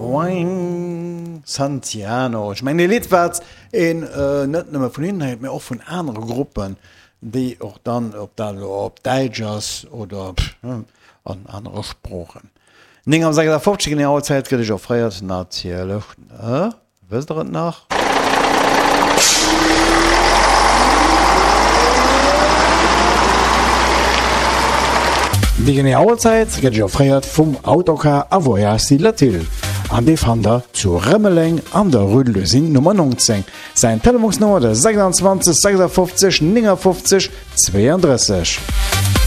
Wang Santiano. Ech mengen e Lidd wat een net nëmme vun hinnen héiert, mee och vun anere Gruppen, déi och dann, ob dat elo op Däitsch ass oder an anere Sproochen. 9 am 56 genee Auerzäit gëtt ech offréiert, natierlech, ne? Wësst der et nach? Déi genee Auerzäit gëtt iech offréiert vum Autocar a Voyage Latil an dee fannt der zu Rëmeleng an der Rue de l'Usine Nummer 19. Säin Telefonsnummer de 26 56 59 32.